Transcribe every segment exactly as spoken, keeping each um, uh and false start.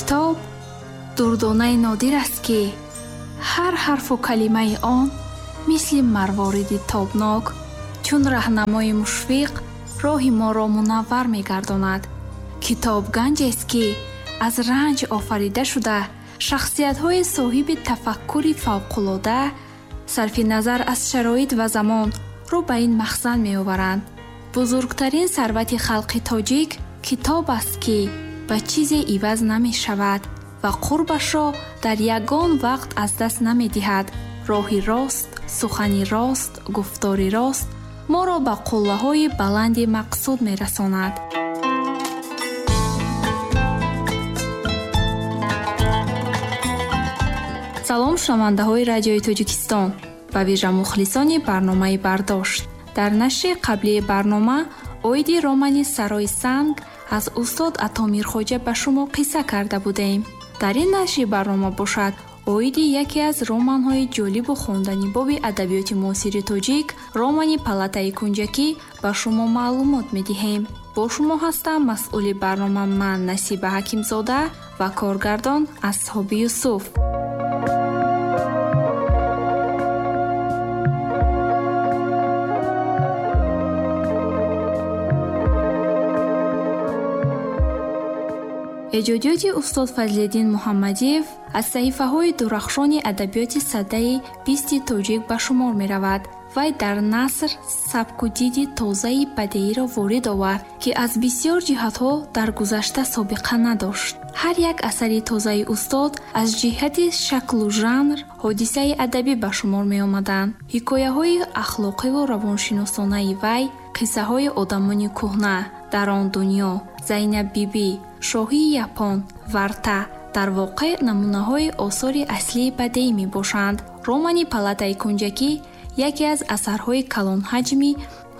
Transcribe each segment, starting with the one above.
Китоб дурдонаи нодир аст, ки ҳар ҳарфу калимаи он мисли марвориди тобнок чун раҳнамои мушфиқ роҳи моро мунаввар мегардонад. Китоб ганҷест, ки аз ранҷ офарида шуда, шахсиятҳои соҳиби тафаккури фавқулода сарфи назар аз шароит ва замон рӯ ба ин махзан меоваранд. Бузургтарин сарвати халқи тоҷик китоб аст, ки ба чизе иваз намешавад ва қурбашро дар ягон вақт аз даст намедиҳад. Роҳи рост, сухани рост, гуфтори рост моро ба қуллаҳои баланди мақсуд мерасонад. Салом шунавандаҳои радиои Тоҷикистон ва вижа мухлисони барномаи Бардошт. Дар нашри қаблии барнома оиди романи Сарои санг аз устод Ато Мирхоҷа ба шумо қисса карда будем. Дар ин нашри барнома бошад оиди яке аз романҳои ҷолибу хонданибоби адабиёти муосири тоҷик, романи Палатаи кунҷакӣ ба шумо маълумот медиҳем. Бо шумо ҳастам масъули барнома ман Насиба Ҳакимзода ва коргардон Асҳоби Юсуф. Эҷодиёти устод Фазлиддин Муҳаммадиев аз саҳифаҳои дурахшони адабиёти садаи бисти тоҷик ба шумор меравад. Вай дар наср сабку диди тозаи бадеиро ворид овард, ки аз бисёр ҷиҳатҳо дар гузашта собиқа надошт. Ҳар як асари тозаи устод аз ҷиҳати шаклу жанр ҳодисаи адабӣ ба шумор меомаданд. Ҳикояҳои ахлоқиву равоншиносонаи вай, қиссаҳои одамони кӯҳна, дар он дунё, Зайнаб бибӣ, шоҳии Япон, Варта дар воқеъ намунаҳои осори аслии бадеӣ мебошанд. Романи Палатаи кунҷакӣ яке аз асарҳои калонҳаҷми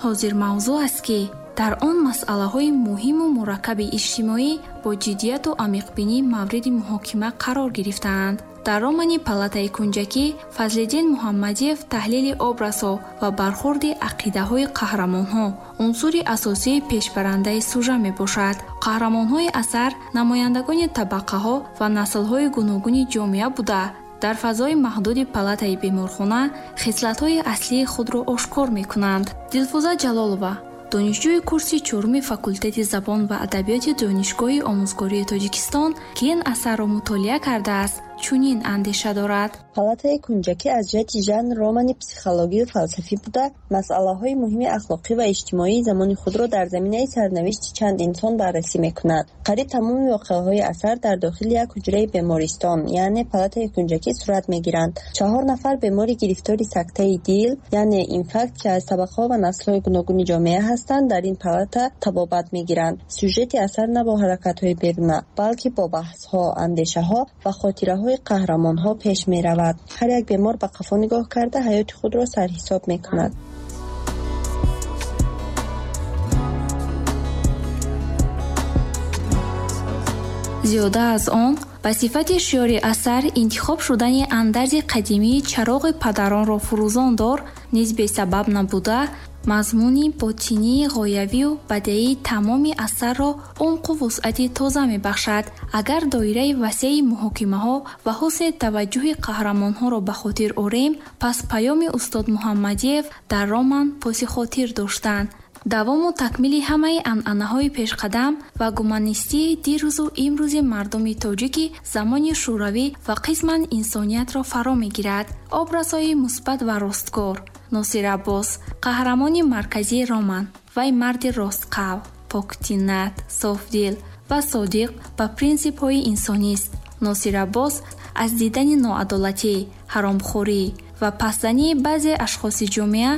ҳозирмавзӯъ аст, ки дар он масъалаҳои муҳиму мураккаби иҷтимоӣ бо ҷиддияту амиқбинӣ мавриди муҳокима қарор гирифтаанд. Дар романи Палатаи кунҷакӣ Фазлиддин Муҳаммадиев таҳлили образҳо ва бархурди ақидаҳои қаҳрамонҳо унсури асосии пешбарандаи сужа мебошад. Қаҳрамонҳои асар намояндагони табақаҳо ва наслҳои гуногуни ҷомеа буда, дар фазои маҳдуди палатаи беморхона хислатҳои аслии худро ошкор мекунанд. Дилфуза Ҷалолова, донишҷӯи курси чоруми факултети забон ва адабиёти Донишгоҳи омӯзгории Тоҷикистон, ки ин асарро мутолиа кардааст, чунин андеша дорад. Палатаи кунҷакӣ аз ҷиҳати жанр романи психологию фалсафӣ буда, масъалаҳои муҳими ахлоқӣ ва иҷтимоии замони худро дар заминаи сарнавишти чанд инсон баррасӣ мекунад. Қариб тамоми воқеаҳои асар дар дохили як ҳуҷраи бемористон, яъне палатаи кунҷакӣ сурат мегиранд. Чаҳор нафар бемори гирифтори сактаи дил, яъне инфаркт, ки аз табақаҳо ва наслҳои гуногуни ҷомеа ҳастанд, дар ин палата табобат мегиранд. Сюжети асар на бо ҳаракатҳои беруна, балки бо баҳсҳо, андешаҳо ва хотираҳои қаҳрамонҳо пеш меравад. Ҳар як бемор ба қафо нигоҳ карда ҳаёти худро сарҳисоб мекунад. Зиёда аз он, ба сифати шиори асар интихоб шудани андарзи қадимии чароғи падаронро фурӯзон дор низ бесабаб набуда, мазмуни ботинии ғоявию бадеии тамоми асарро умқу вусъати тоза мебахшад. Агар доираи васеи муҳокимаҳо ва ҳусни таваҷҷӯҳи қаҳрамонҳоро ба хотир орем, пас паёми устод Муҳаммадиев дар роман поси хотир доштанд. Давому такмили ҳамаи анъанаҳои пешқадам ва гуманистии дирӯзу имрӯзи мардуми тоҷики замони шӯравӣ ва қисман инсониятро фаро мегирад. Образҳои мусбат ва росткор. Носир Аббос, қаҳрамони марказии роман, вай марди ростқавл, поктинат, софдил ва содиқ ба принсипҳои инсонист. Носир Аббос аз дидани ноадолатӣ, ҳаромхӯрӣ ва пасзании баъзе ашхоси ҷомеа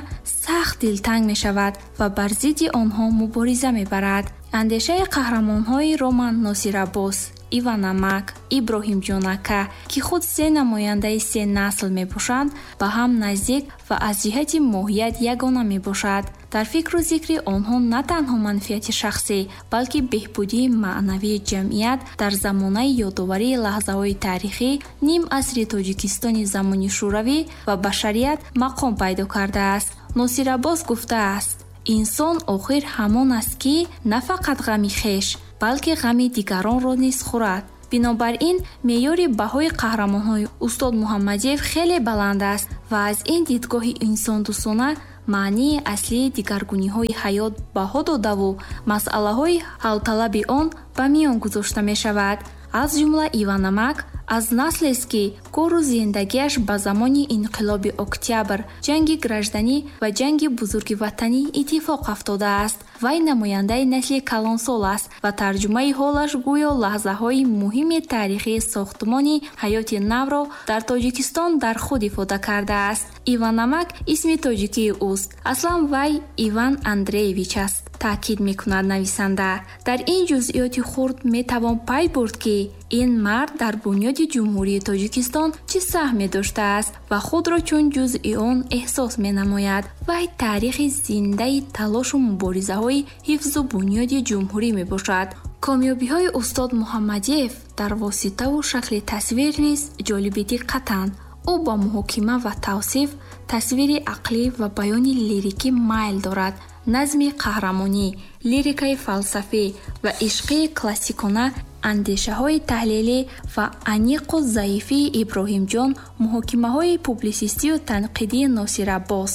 сахт дилтанг мешавад ва бар зидди онҳо мубориза мебарад. Андешаи қаҳрамонҳои роман Носир Аббос, Иван Амак, Иброҳим Ҷонака, ки худ се намояндаи се насл мебошанд, ба ҳам наздик ва аз ҷиҳати моҳият ягона мебошад. Дар фикру зикри онҳо на танҳо манфиати шахсӣ, балки беҳбудии маънавии ҷамъият дар замонаи ёдоварии лаҳзаҳои таърихӣ ним асри Тоҷикистони замони шӯравӣ ва башарият мақом пайдо кардааст. Носир Аббос гуфтааст: инсон охир ҳамон аст, ки на фақат ғами хеш, балки ғами дигаронро низ хӯрад. Бинобар ин, меъёри баҳои қаҳрамонҳои устод Муҳаммадиев хеле баланд аст ва аз ин дидгоҳи инсондӯстона маънии аслии дигаргуниҳои ҳаёт баҳо додаву масъалаҳои ҳалталаби он ба миён гузошта мешавад. Аз ҷумла Иван Намак аз наслест, ки кору зиндагиаш ба замони инқилоби Октябр, ҷанги гражданӣ ва ҷанги бузурги ватанӣ иттифоқ афтодааст. Вай намояндаи насли калонсол аст ва тарҷумаи ҳолаш гӯё лаҳзаҳои муҳими таърихии сохтмони ҳаёти навро дар Тоҷикистон дар худ ифода кардааст. Иван Намак исми тоҷикии ӯст. Аслан вай Иван Андреевич аст, таъкид мекунад нависанда. Дар ин ҷузъиёти хурд метавон пай бурд, ки ин мард дар бунёди Ҷумҳурии Тоҷикистон чӣ саҳме доштааст ва худро чун ҷузъи он эҳсос менамояд. Вай таърихи зиндаи талошу муборизаҳои ҳифзу бунёди ҷумҳурӣ мебошад. Комёбиҳои устод Муҳаммадиев дар воситаву шакли тасвир низ ҷолиби диққатанд. Ӯ ба муҳокима ва тавсиф, тасвири ақлӣ ва баёни лирикӣ майл дорад. Назми қаҳрамонӣ, лирикаи фалсафӣ ва ишқии классикона, андешаҳои таҳлилӣ ва аниқу заифии Иброҳимҷон, муҳокимаҳои публисистию танқидии Носир Аббос,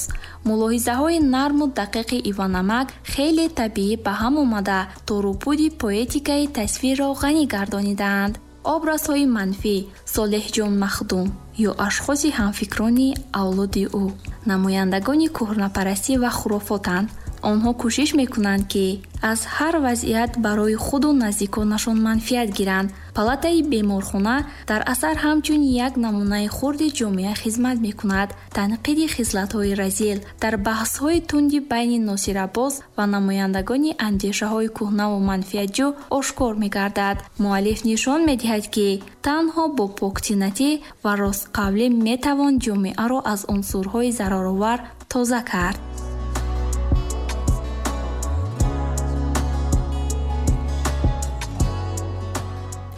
мулоҳизаҳои нарму дақиқи Иван Намак хеле табиӣ ба ҳам омада, торупуди поэтикаи тасвирро ғанӣ гардонидаанд. Образҳои манфӣ, Солеҳҷон Махдум ё ашхоси ҳамфикрони авлоди ӯ намояндагони кӯҳнапарастӣ ва хурофотанд. Онҳо кӯшиш мекунанд, ки аз ҳар вазъият барои худу наздиконашон манфиат гиранд. Палатаи беморхона дар асар ҳамчун як намунаи хурди ҷомеа хизмат мекунад. Танқиди хислатҳои разил дар баҳсҳои тунди байни Носир Аббос ва намояндагони андешаҳои кӯҳнаву манфиатҷӯ ошкор мегардад. Муаллиф нишон медиҳад, ки танҳо бо поктинатӣ ва ростқавлӣ метавон ҷомеаро аз унсурҳои зараровар тоза кард.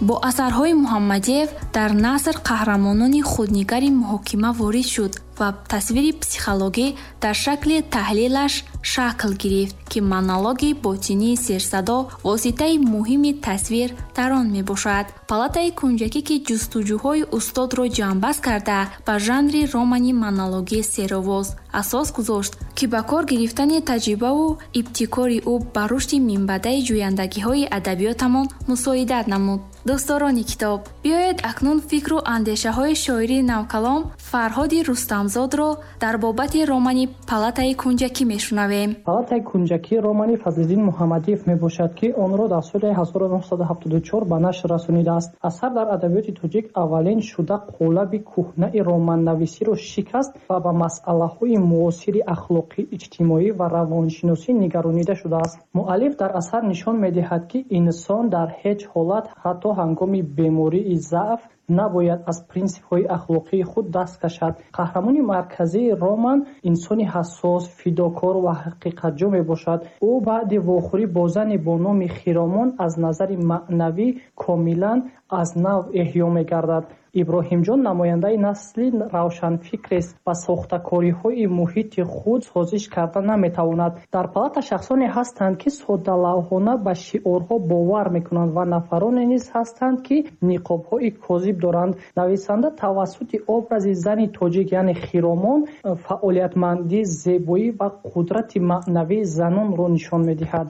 Бо асарҳои Муҳаммадиев дар наср қаҳрамонони худнигари муҳокима ворид шуд ва тасвири психологӣ дар шакли таҳлилаш шакл гирифт, ки монологи ботинии серсадо воситаи муҳими тасвир дар он мебошад. Палатаи кунҷакӣ, ки ҷустуҷӯҳои устодро ҷамъбаст карда, ба жанри романи монологии серовоз асос гузошт, ки ба кор гирифтани таҷрибаву ибтикори ӯ ба рушди минбаъдаи ҷӯяндагиҳои адабиётамон мусоидат намуд. Дӯстдорони китоб, биёед акнун фикру андешаҳои шоири навкалом Фарҳоди Рустамзодро дар бобати романи Палатаи кунҷакӣ мешунавем. Палатаи кунҷакӣ романи Фазлиддин Муҳаммадиев мебошад, ки онро дар соли ҳазору нӯҳсаду ҳафтоду чор ба нашр расонидааст. Асар дар адабиёти тоҷик аввалин шуда қолаби кӯҳнаи романнависиро шикаст ва ба масъалаҳои муосири ахлоқӣ, иҷтимоӣ ва равоншиносӣ нигаронида шудааст. Муаллиф дар асар нишон медиҳад, ки инсон дар ҳеҷ ҳолат, ҳатто ҳангоми бемории заъф, набояд аз принсипҳои ахлоқии худ даст кашад. Қаҳрамони марказии роман инсони ҳассос, фидокор ва ҳақиқатҷӯ мебошад. Ӯ баъди вохӯрӣ бо зане бо номи Хиромон аз назари маънавӣ комилан аз нав эҳё мегардад. Иброҳимҷон намояндаи насли равшанфикрест ва сохтакориҳои муҳити худ созиш карда наметавонад. Дар палата шахсоне ҳастанд, ки соддалавҳона ба шиорҳо бовар мекунанд ва нафароне низ ҳастанд, ки ниқобҳои козиб доранд. Нависанда тавассути образи зани тоҷик, яъне Хиромон, фаъолиятмандӣ, зебоӣ ва қудрати маънавии занонро нишон медиҳад.